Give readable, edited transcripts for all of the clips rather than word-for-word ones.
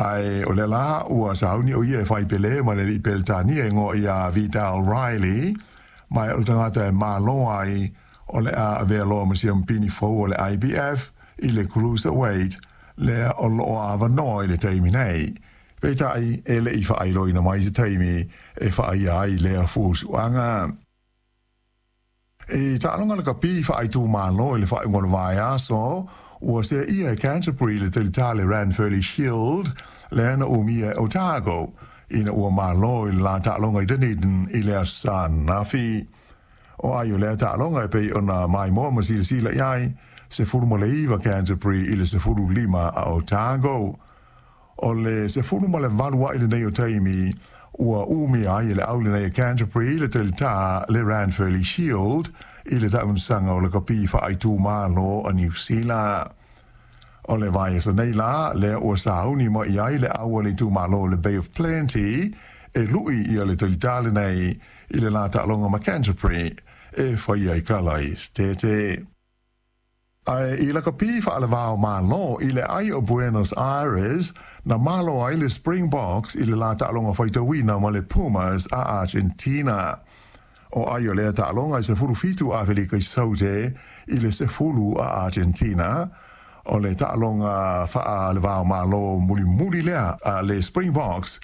Ae o lea la ua sauni o ia e fai pele ma le alii Peretania e igoa ia Vidal Riley, ma o le tagata e malo ai o le a avea loa ma siampini fou o le IBF i le cruiserweight lea o lo o avanoa i le taimi nei. Peitai, e le i faailoaina mai se taimi e vaaia ai lea fuafuaga. I taaloga lakapi faaitumalo i le faaiuga o le vaiaso, ua seaia e Canterbury le talitā le Ranfurly Shield lea na umia e Otago ina ua malo i le la taaloga i Dunedin i le Aso Sa ananafi. O ai o lea taaloga e pei ona maimoa ma silasila i ai, 19 Canterbury i le 15 a Otago. O le 18 a'i lenei o taimi ua umia ai e le au lenei a Canterbury le talitā le Ranfurly Shield i le taamilosaga o lakapi faaitumalo a Niu Sila. O le vaiaso nei la, lea ua sauni mai ai le au a le itumalo o le Bay of Plenty e lu'i ia le talitā lenei i le la taaloga ma Canterbury e faia i Kalaesetete. Ae i lakapi faalevao Malo i le ai o Buenos Aires, na malo ai le Springboks i le la taaloga faitauina ma le Pumas a Argentina. O ai o lea taaloga e 17 Afelika i Saute i le 10 a Argentina. O le taaloga faalevao Malo mulimuli lea a le Springboks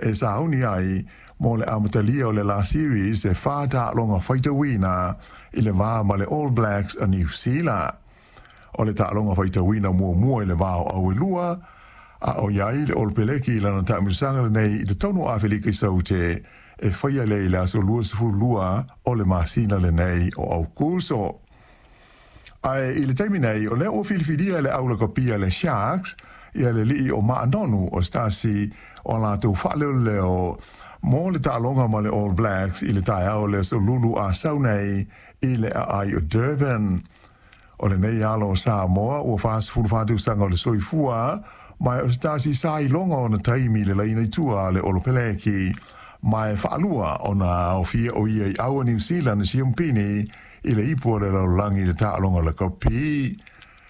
e sauni ai mo le amatalia o le la series e 4 taaloga faitauina i le va ma le All Blacks a Niu Sila. O le taaloga faitauina muamua i le va o Auelua, a o i ai le Olopeleki i lana taamilosaga lenei i totonu o Afelika i Saute e faia lea i le aso 22 o le masina lenei o Aukuso. Ae i le taimi nei, o lea ua filifilia e le au lakapia le Sharks ia le alii o Maanonu o se tasi o a latou faaleoleo mo le taaloga ma le All Blacks i le taeao o le aso Lulu a sau nei i le aai o Durban. O lenei alo o Samoa ua 44 tausaga o le soifua, ma o se tasi sa iloga ona taimi i le laina i tua a le Olopeleki, ma e faalua ona aofia o ia i au a Niu Sila na siampini i le ipu o le lalolagi i le taaloga lakapi.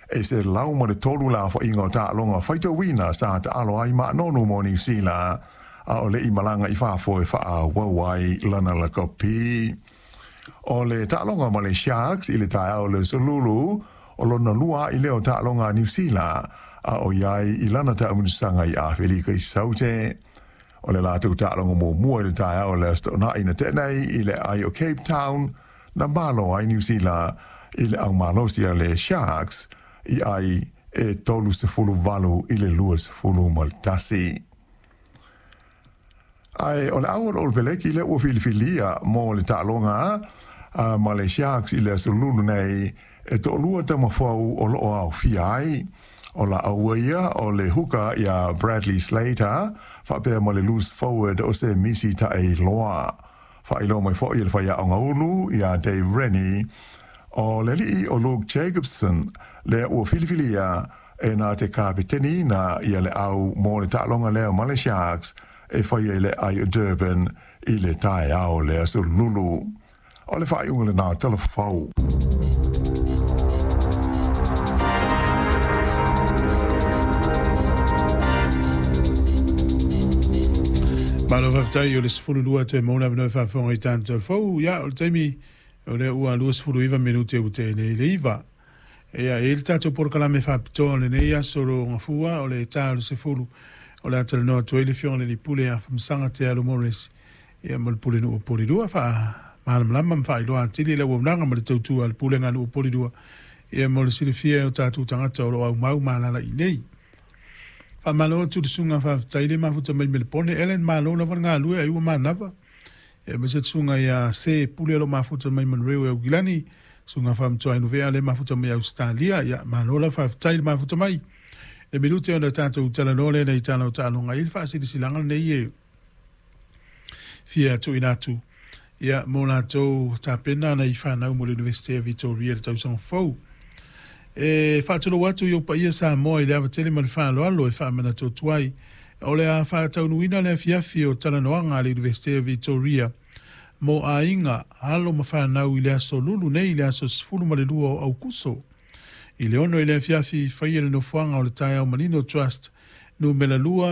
E 103 le aofaiga o taaloga faitauina sa taalo ai Maanonu mo Niu Sila, a o le i malaga i fafo e faaauau ai lana lakapi. O le taaloga ma le Sharks i le taeao o le Aso Lulu, o lona lua a'i lea o taaloga a Niu Sila a o i ai i lana taamilosaga i Afelika i Saute. O le latou taaloga muamua i le taeao o le Aso Toonai na tea nei i le aai o Cape Town, na malo ai Niu Sila i le aumalosi a le Sharks i ai e 38 i le 21. Ae o le au o le Olopeleki lea ua filifilia mo le taaloga a ma le Sharks i le Aso Lulu nei, e toalua tama fou o lo o aofia ai. O la aua ia o le huka iā Bradley Slater faapea ma le loose forward o se Misi Taeiloa. Faailoa mai foi e le faiaoga ulu iā Dave Rennie, o le alii o Luke Jacobson lea ua filifilia e na te kapeteniina ia le au mo le taaloga lea ma le Sharks e faia i le aai o Durban i le taeao o le Aso Lulu. O le faaiuga lena o Tala Fou. Malo faafetai o le 12 toe maua le avanoa e faafofoga i tatou Tala Fou. Ia, o le taimi o lea ua 29 minute ua tea nei le 9. Ia, e i ai le tatou polokalame faapitoa o lenei aso o Gafua, o le ta o le 10, o le a talanoa atu ai le Afioga i le Alii Pule ia Afamasaga Te Alo Morris, ia ma le Pulenuu o Polilua, faamalamalama ma faailoa atili le auaunaga ma le tautua a le Pulega a Nuu o Polilua, ia mo le silafia e o tatou tagata o lo o aumau ma alaala i inei. Faamalo atu i le susuga faafetai le mafuta mai Melepone, Ellen, malo lava le galue ai ua manava. E aemaise le susuga ia Se Pule o lo o mafuta mai Monroe e Aukilani, susuga Faamatuai Nuvea lea e mafuta mai Ausetalia. Ia, malo lava faafetai le mafuta mai. Le minute ona tatou talanoa lea nei tala o taaloga i le faasilasilaga lenei e fia tuuina atu ia mo latou tapena ana i fanau mo le Universite o Vitoria i le tausaga fou. E faatulou atu i ou paia Samoa i le ava tele ma le faaaloalo e faamanatu atu ai o le a faataunuuina le afiafi o talanoaga a le Universite o Vitoria mo aiga, alo ma fanau i le aso Lulu nei i le aso 12 o Aukuso. I le 6 i le afiafi, faia le nofoaga o le Taeao Manino Trust, numera 2.